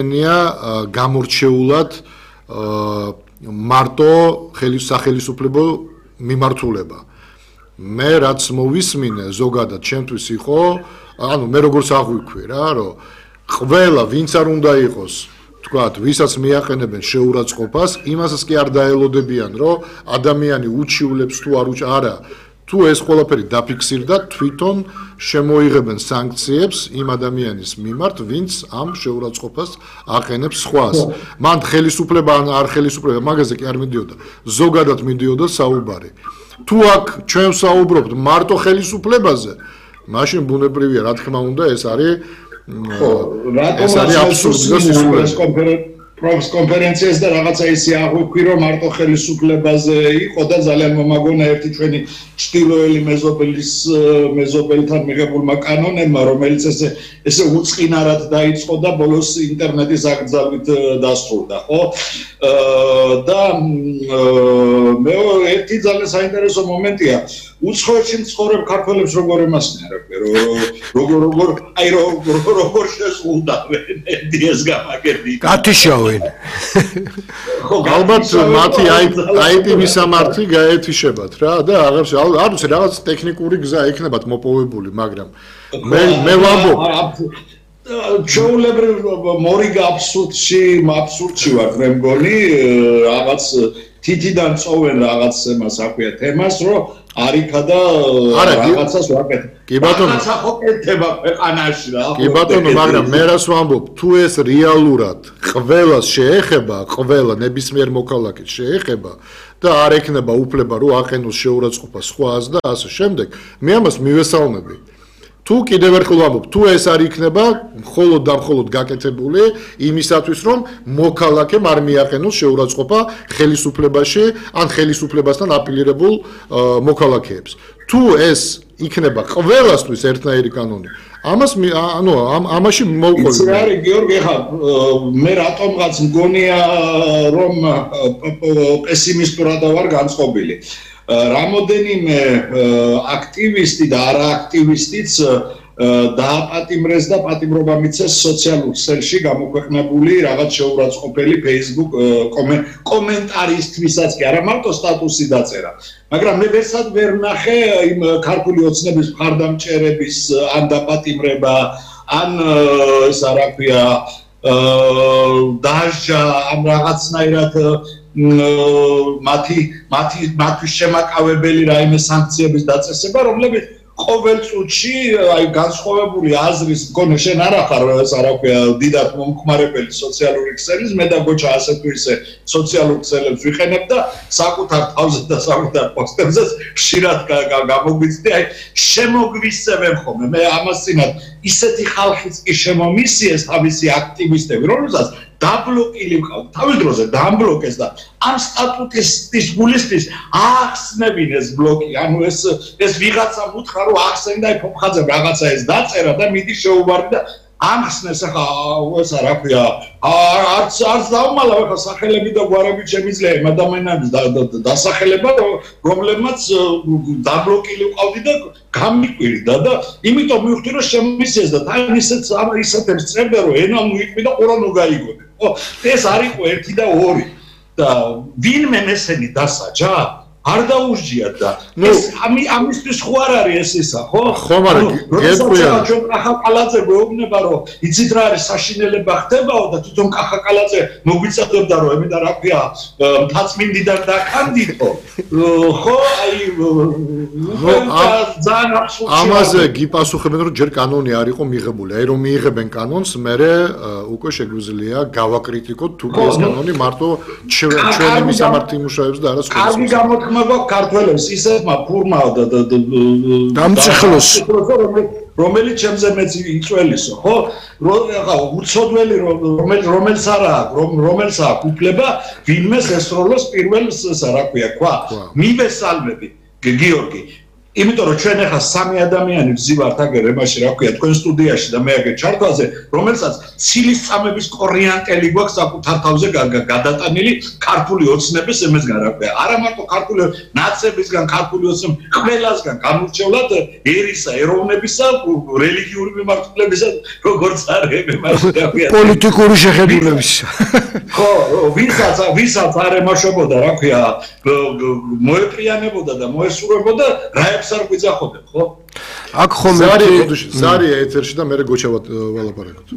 გამორჩეულად მარტო სახელმწიფო მიმართულება. მე რაც მოვისმინე ზოგადად ჩემთვის იყო, ანუ მე როგორც აღვიქვი რა, რომ ყველა ვინც არ უნდა იყოს, თქვათ, ვისაც მიაყენებენ შეურაცხყოფას, იმასაც კი არ დაელოდებიან, რომ ადამიანი უჩივლებს თუ არა, თუ ეს ყველაფერი დაფიქსირდა, თვითონ შემოიღებენ სანქციებს იმ ადამიანის მიმართ, ვინც ამ შეურაცხყოფას აყენებს სხვას. მან ხელისუფლება ან არ ხელისუფლება, მაგაზე კი არ მიდიოდა, ზოგადად მიდიოდა საუბარი. თუ აქ ჩვენ საუბრობთ მარტო ხელისუფლებაზე, მაშინ ბუნებრივია, რა თქმა უნდა, ეს არის აბსურდი და სისულელე. კონფერენციას და რაღაცა ისე აღვიქვი, რომ მარტო ხელისუფლებაზე იყო და ძალიან მომაგონა ერთი ჩვენი ჩtildeოელი მეზობელთან მიღებულმა კანონებმა, რომელიც ესე უწყინარად დაიწყო და ბოლოს ინტერნეტის აკრძალვით დასრულდა, ხო? და მე ერთი ძალიან საინტერესო მომენტია, უცხოეთში მცხოვრებ ქართველებს როგორ ემასნია, როგორ შესრულდავენ ეს გამაგერდი. გათიშავენ. ალბათ მათი IP მისამართი გაეთიშებათ რა და არ ვიცი რაღაც ტექნიკური გზა ექნებათ მოპოვებული, მაგრამ მე ვამბობ ჩაულებრივ მორიგ აბსურდში ვარ მე მგონი რაღაც თითიდან წოვენ რაღაც εμას აქვია თემას რომ არიქა და რაღაცას ვაკეთებ. კი ბატონო, რაღაცა ხო კეთდება ქვეყანაში რა. კი ბატონო, მაგრამ მე რას ვამბობ, თუ ეს რეალურად ყველას შეეხება, ყველა ნებისმიერ მოქალაქეს შეეხება და არ ექნება უფლება რომ აყენოს შეურაცხყოფას სხვას და ასე შემდეგ, მე ამას მივესალმები. თუ კიდევ ერთხელ ვამბობ, თუ ეს არ იქნება მხოლოდ და მხოლოდ გაკეთებული იმისათვის, რომ მოქალაქემ არ მიაყენოს შეურაცხყოფა ხელისუფლებაში ან ხელისუფლებასთან აპილირებულ მოქალაქეებს. თუ ეს იქნება ყველასთვის ერთნაირი კანონი, ამაში მოვყოლი. იცი რა არის გიორგი, ხა მე რატომღაც მგონია რომ პესიმისტურად ვარ განწყობილი. რამოდენიმე აქტივისტი და არააქტივისტიც დააპატიმრეს და პატიმრობა მიცეს სოციალურ ქსელში გამოქვეყნებული რაღაც შეურაცხყოფელი Facebook კომენტარისთვისაც კი არა მარტო სტატუსი დაწერა. მაგრამ მე ვერსად ვერ ნახე იმ ქართული ოცნების მხარდამჭერების ან დაპატიმრება ან ეს რა ქვია დაჟა ამ რაღაცნაირად მათთვის შემაკავებელი რაიმე სანქციების დაწესება, რომლებიც ყოველ წუთში აი განსხვავებული აზრის მქონე შენ არ ახარ ეს რა ქვია დიდად მომხმარებელი სოციალური ქსელის, მე და გოჩა ასე თუ ისე სოციალურ ქსელებს ვიყენებ და საკუთარ თავზე და საკუთარ პოსტებზე ხშირად გამოგვიცდი, აი შემოგვისწევენ ხოლმე. მე ამას წინათ ისეთი ხალხიც კი შემომისიეს თავისი აქტივისტები, რომელსაც დაბლოკილი ვყავთ, თავის დროზე დაამბლოკეს და ამ სტატუტის გულისთვის ახსნებინ ეს ბლოკი, ანუ ეს ვიღაცამ უთხრა რომ ახსენდა ფოფხაძემ რაღაცა ეს დაწერა და მიდი შეუბარი და ამხსნეს ახლა ესა რა ქვია არც დავმალა ახლა სახელები და გვარები შემიძლია იმ ადამიანების დასახელება რომლებმაც დაბლოკილი ვყავდი და გამიკვირდა და იმიტომ მივხვდი რომ შემისიეს და თან ისეთებს წერდა რომ ენა მოიყვი და ყურა ნუგაიგონე. ეს არ იყო 1 და 2 და ვინმე მესენი დასაჯა არ დაუსჯიათ და ეს ამისთვის ხო არ არის ეს ისა ხო? ხო, მაგრამ გეტყვია ჩვენ კახაკალაძე გვეუბნება რომ იცით რა არის საშინელება ხდებაო და თვითონ კახაკალაძე მოგვიწევდა რომ ემედა რა ქვია მთაწმინდიდან დაკანდიდო ხო აი ძალიან აბსურდია. ამაზე გიპასუხებენ რომ ჯერ კანონი არ იყო მიღებული, აი რომ მიიღებენ კანონს, მერე უკვე შეგვიძლია გავაკრიტიკოთ თუ ეს კანონი მარტო ჩვენი მისამართი იმუშავებს და არა სხვა. მაგ ქართველებს ისეთმა ფურმა და დამწეხლოს რომელიც ჩემზე მეც იწველისო ხო ხა უცოდველი რომელს არა რომელს აქვს უფლება ვინმეს ესროლოს პირველს რა ქვია ქვა მივესალმები გიორგი იმიტომ რომ ჩვენ ახლა სამი ადამიანი ვზივართ აგერ ემაში რა ქვია თქვენ სტუდიაში და მე აგერ ჩართვაზე რომელსაც ცილის-წამების კორიანტელი გვაქვს საკუთარ თავზე გადატანილი ქართული ოცნების ემესგან რა ქვია არა მარტო ქართული ნაცებისგან ქართული ოცნების ყველასგან გამორჩეულად ერისა ეროვნებისა რელიგიური მიმართულებისა როგორც არის ემაში რა ქვია პოლიტიკური შეხედულების ხო ვისაც არ ემაშობოდა რა ქვია მოეპრიანებოდა და მოესურვებოდა რაებს არ გვიძახოდნენ ხო აქ ხომ ზარია ეთერში და მე გოჩა ვალაპარაკოთ